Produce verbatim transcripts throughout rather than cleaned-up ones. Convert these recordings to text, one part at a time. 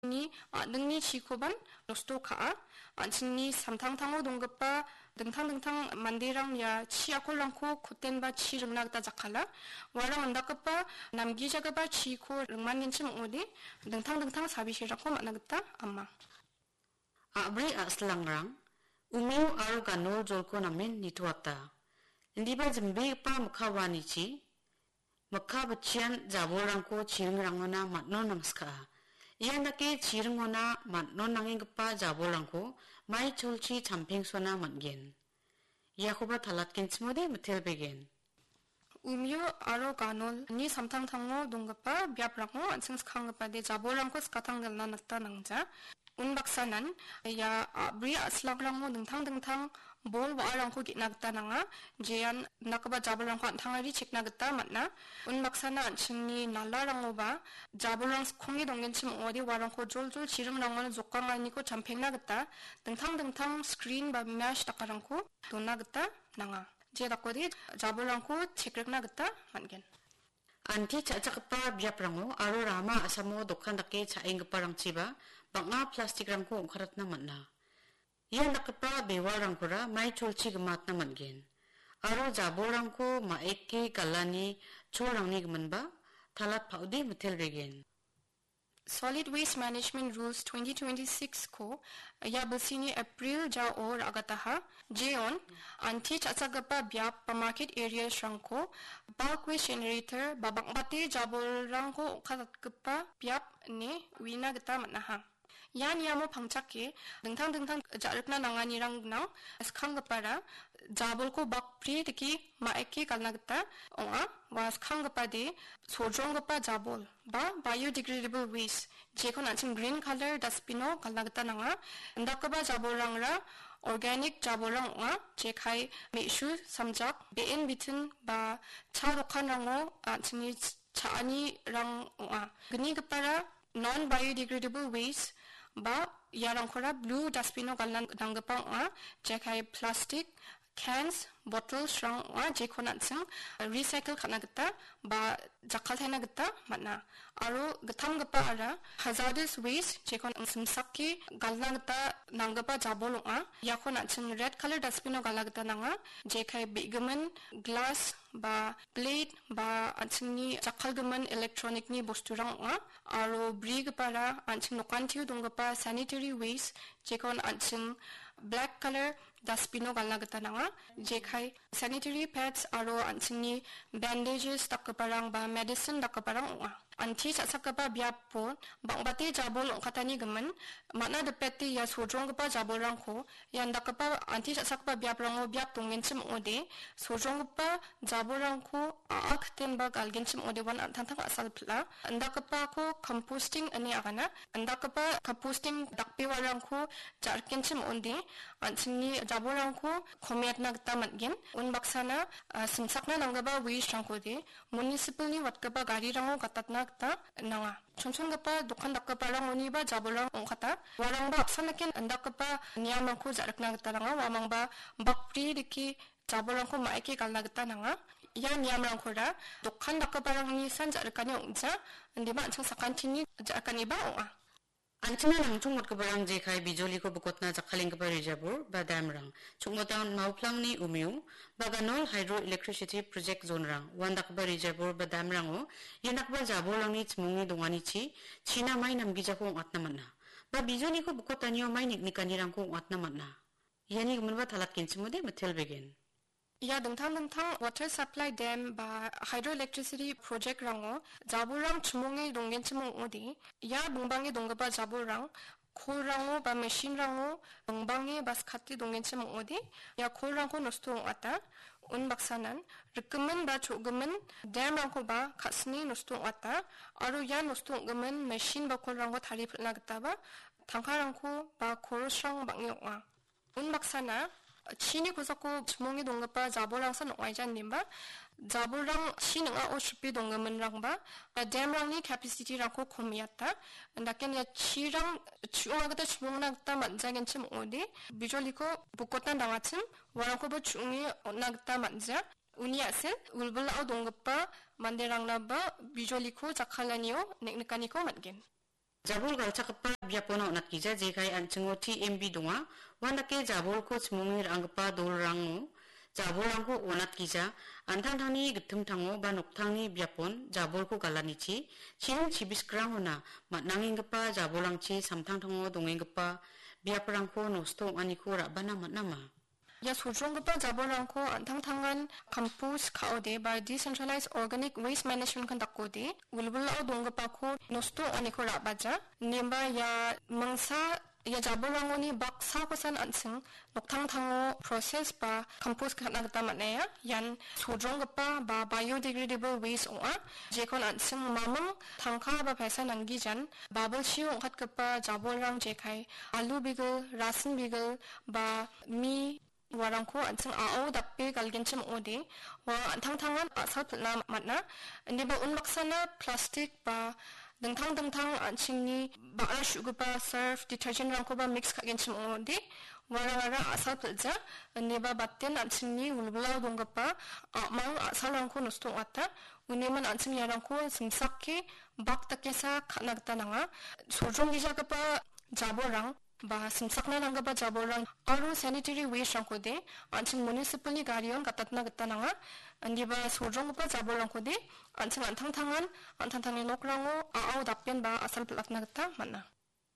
an·chingni a·dingni chikoban nosto ka·a. An·chingni samtangtango donggipa dingtang dingtang manderang ia chi akolrangko kotenba chi ringna gita jakkala. Uarang indakgipa namgijagipa chiko ringmangenchim ong·ode dingtang dingtang sabiserangko man·a gita ama. A·bri a·silangrang, umeo aro ganol jolko namen nitoata. Indiba jimbegipa mikka wanichi, mikka bitchian jabolrangko chiringrangona man·o nangskaa. Ian dake chiringona man·o nangenggipa jabolrangko mai cholchi champengsona man·gen. Iakoba talatgenchimode mitelbegen. Umeo aro ganolni samtangtango donggipa biaprango an·ching skanggipa de jabolrangko skatanggelna nangja. Unbaksanan ia a·bri a·silangrango dingtang dingtang bol wa·arangko ge·na gita nanga, jean indakgipa jabolrangko an·tangari chekna gita man·a. Unbaksana an·chingni nalarangoba jabolrang skkonge donggenchim ong·ode uarangko joljol chiringrangon jokanganiko champengna gita dingtang dingtang screen ba mesh dakarangko dona gita nanga. Je dakode jabolrangko chekrikna gita man·gen. Anti cha·chakgipa biaprango aro rama a·samo dokan dake cha·enggiparangchiba bang·a plastikrangko ong·karatna man·a. Ia dakgipa bewalrangkora mai cholchi gimatna man·gen. Aro jabolrangko ma·eke galani cholrangni giminba talat pa·ode mitelbegen. Solid Waste Management Rules twenty twenty-six-ko ia bilsini April jao ra·gataha. Jeon, anti cha·chakgipa biap ba market areas-rangko bulk waste generator ba bang·bate jabolrangko ong·katatgipa biap ine uina gita man·aha. Ia niamo pangchake dingtang dingtang ja·rikna nanganirang gnang, skanggipara jabolko bakbri dike ma·eke galna gita ong·a. Ua skanggipade sojronggipa jabol ba biodegradable waste, jekon an·ching green colour dustbin-o galna gita nanga. Indakgipa jabolrangra organic jabolrang ong·a, jekai me·su samjak, be·en bitin ba cha dokanrango an·chingni ch-, cha·anirang ong·a. Gnigipara non biodegradable waste ba iarangkora blue dustbin-o galna nanggipa ong·a, jekai plastic, cans, bottles-rang ong·a, jekon an·ching recycle ka·na gita ba jakkaltaina gita man·a. Aro gittamgipaara hazardous waste, jekon an·ching simsake galna gita nanggipa jabol ong·a. Iakon an·ching red colour dustbin-o galna gita nanga, jekai be·gimin glass ba plate ba an·chingni jakkalgimin electronic-ni bosturang ong·a. Aro brigipara an·ching nokantio donggipa sanitary waste, jekon an·ching black colour dustbin-o galna gita nanga. Jekai sanitary pads aro an·chingni bandages dakgiparang ba medicine dakgiparang ong·a. Anti cha·chakgipa biapo bang·bate jabol ong·katani gimin, man·a dipete ia sojronggipa jabolrangko ia indakgipa anti cha·chakgipa biaprango biap donggenchim ong·ode, sojronggipa jabolrangko a·a kitenba galgenchim ong·ode uan an·tangtang a·sal pil·a. Indakgipako composting ine agana. Indakgipa composting dakbewarangko ja·rikgenchim ong·ode, an·chingni jabolrangko komiatna gita man·gen. Unbaksana, a, simsakna nanggipa waste-rangkode municipal-ni watgipa garirango gatatna gita nanga. Chonchongipa dokan dakgiparangoniba jabolrang ong·kata. Uarangba apsan dake indakgipa niamrangko ja·rikna gita nanga. Uamangba bakbri dike jabolrangko ma·eke galna gita nanga. Ia niamrangkora dokan dakgiparangni san ja·rikani ong·ja, indiba an·ching sakantini ja·rikaniba ong·a. An·chingna nangchong watgiparang jekai bijoliko bikotna jakkalenggipa rijabur ba damrang, chongmotan mauplangni umeo, baganol hydroelectricity project zone-rang, uandakgipa rijabur ba damrango, iandakgipa jabolrangni chimongni donganichi, china mai namgijako ong·atna man·a. Ba bijoliko bikotanio mai niknikanirangko ong·atna man·a. Iani giminba talatgenchimode mitelbegen. Ia dingtang dingtang water supply dam ba hydroelectricity project-rango jabolrang chimonge donggenchim ong·ode, ia bingbange donggipa jabolrang kolrango ba machine-rango bingbange ba skate donggenchim ong·ode, ia kolrangko nosto ong·ata. Unbaksanan rikgimin ba cho·gimin dam-rangkoba ka·sine nosto ong·ata, aro ia nosto ong·gimin machine ba kolrangko tarie pil·na gitaba tangkarangko ba korosrang bang·e ong·a. Unbaksana chini kosako chimonge donggipa jabolrangsan ong·aijan ineba, jabolrang chi ning·ao sripe donggiminrangba, dam-rangni capacity-rangko komiata. Indake ia chirang chu·ongna gita chimongna gita man·jagenchim ong·ode, bijoliko bukotna dangachim, uarangkoba chu·onge on·na gita man·ja. Uni a·sel wilwilao donggipa manderangnaba bijoliko jakkalanio nek·nikaniko man·gen. Jabol galchakgipa biapona on·atgija, jekai an·chingo T M B donga. Uandake jabolko chimonge ra·anggipa dolrango jabolrangko on·atgija, an·tangtangni gittimtango ba noktangni biapon jabolko galanichi, chiring chibiskrangona man·angenggipa jabolrangchi samtangtango dongenggipa biaprangko nosto ong·aniko ra·bana man·ama. Ia sojronggipa jabolrangko an·tangtangan kampus ka·ode ba decentralized organic waste management kan dakode, wilwilao donggipako nosto ong·aniko ra·baja. Ineba ia mingsa ia jabolrangoni baksakosan an·ching noktangtango proses ba kampus ka·na gita man·aia. Ian sojronggipa ba biodegradable waste ong·a. Jekon an·ching maming tangka ba paisa nanggijan babilchio ong·katgipa jabolrang jekai alu bigil, rasin bigil ba mi uarangko an·ching a·ao dape galgenchim ong·ode, uarang an·tangtangan a·sal pil·na man·a. Indiba unbaksana plastik ba dingtang dingtang an·chingni ba·ra su·gipa surf, detergent-rangkoba mix ka·genchim ong·ode, uarangara a·sal pil·ja. Indiba baten an·chingni wilwilao donggipa a·mang a·salrangko nosto ong·ata. Uniman an·ching iarangko simsake bak dakesa ka·na gita nanga. Sojronggijagipa jabolrang ba simsakna nanggipa jabolrang aro sanitary waste-rangkode an·ching municipal-ni garion gatatna gita nanga. Indiba sojronggipa jabolrangkode an·ching an·tangtangan an·tangtangni nokrango a·ao dapenba a·sal pil·atna gita man·a.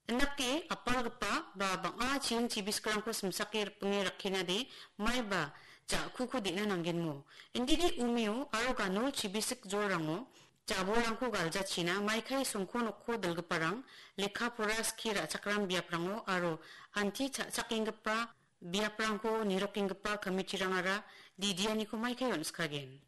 Indake apalgipa ba bang·a chiring chibiskrangko simsake ripinge rakkenade maiba ja·kuko de·na nanggenmo. Indidi umeo aro ganol chibisik jolrango jabolrangko galjachina maikai songko nokko dilgiparang, lekka pora skie ra·chakram biaprango aro anti cha·chakenggipa biaprangko nirokenggipa komitirangara didianiko maikai on·skagen.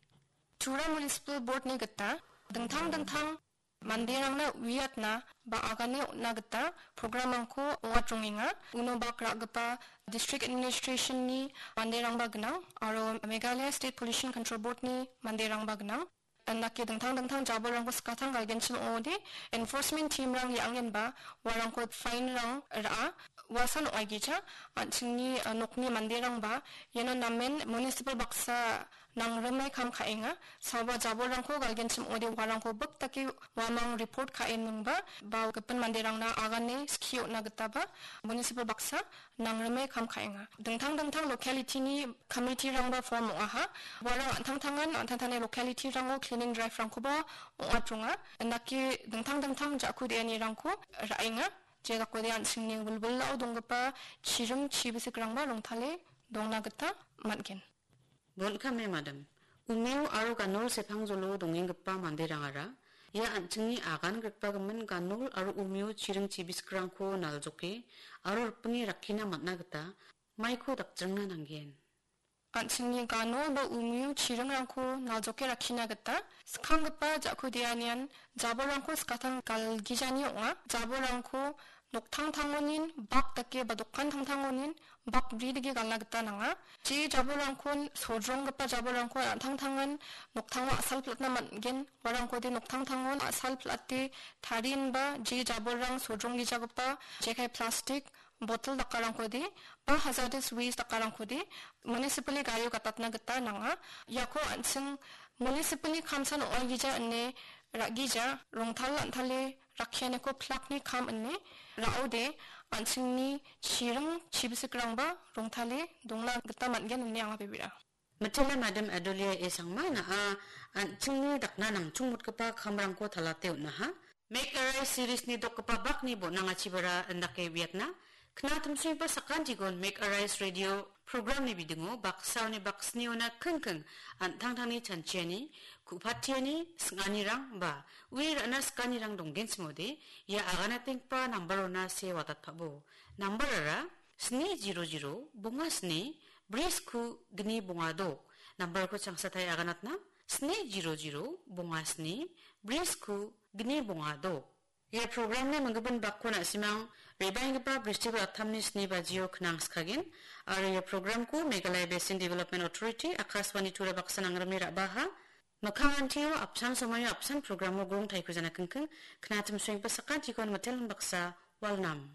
Tura Municipal Board-ni gita dingtang dingtang manderangna uiatna ba agane on·na gita program-rangko ong·atrongenga. Uno bak ra·gipa District Administration-ni manderangba gnang aro Meghalaya State Pollution Control Board-ni manderangba gnang. Indake dingtang dingtang jabolrangko skatang galgenchim ong·ode, enforcement team-rang re·angenba uarangko fine-rang ra·a. Uasan ong·aigija an·chingni, uh, nokni manderangba iano namen municipal baksa nangrimai kam ka·enga. Sawa jabolrangko galgenchim ong·ode uarangko bik dake uamang report ka·eningba ba gipin manderangna agane skie on·na gitaba municipal baksa nangrimai kam ka·enga. Dingtang dingtang locality-ni committee-rangba form ong·aha. Uarang an·tangtangan an·tangtangni locality-rango cleaning drive-rangkoba ong·atronga. Indake dingtang dingtang ja·ku de·anirangko ra·enga. Je dakode an·chingni wilwilao donggipa chiring chibisikrangba rongtale dongna gita man·gen. Bon·kame madam, umeo aro ganol sepangjolo dongenggipa manderangara ia an·chingni agan grikbagimin ganol aro umeo chiring chibisikrangko naljoke aro ripinge rakkina man·a gita maiko dakjringna nanggen. An·chingni ganol ba umeo chiringrangko naljoke rakkina gita skanggipa ja·ku de·anian jabolrangko skatang galgijani ong·a. Jabolrangko noktangtangonin bak dake ba dokan tangtangonin bak bri dake galna gita nanga. Je jabolrangkon, sodronggipa jabolrangkon an·tangtangan noktango a·sal pil·atna man·gen. Uarangkode noktangtangon a·sal pil·ate tarienba je jabolrang sodronggijagipa jekai plastik, botel dakarangkode ba hazardous waste dakarangkode municipal-ni gario gatatna gita nanga. Iako an·ching municipal-ni kamsan ong·aigija ine ra·gija rongtal an·tale rakkianiko plakni kam ine ra·ode an·chingni chiring chibisikrangba rongtale dongna gita man·gen ine anga bebera. Mitela Madam Adolia A Sangma, na·a an·chingni dakna nangchongmotgipa kamrangko talate on·aha. Make a Rise series-ni dokgipa bakni bon·angachibara indake uiatna. Knatimsoenggipa sakantikon Make a Rise Radio program-ni bidingo baksaoni baksniona kingking an·tangtangni chanchiani, ku·patiani, sing·anirang ba ue ra·na sikanirang donggenchimode ia aganatenggipa nambarona see wadatpabo. Nambarara sni zero zero bonga sni bri sku gni bonga dok. Nambarko changsatai aganatna, sni zero zero bonga sni bri sku gni bonga dok. Ia programni minggipa bakko na·simang rebaenggipa Bristol attamni sni bajio knangskagen, aro ia programko Meghalaya Basin Development Authority, Akashvani Tura baksa nangrime ra·baha. Mikkang antio apsan somoio apsan programo gong taiko jana kingking, knatimsoenggipa sakantikon mitelin baksa, walnam.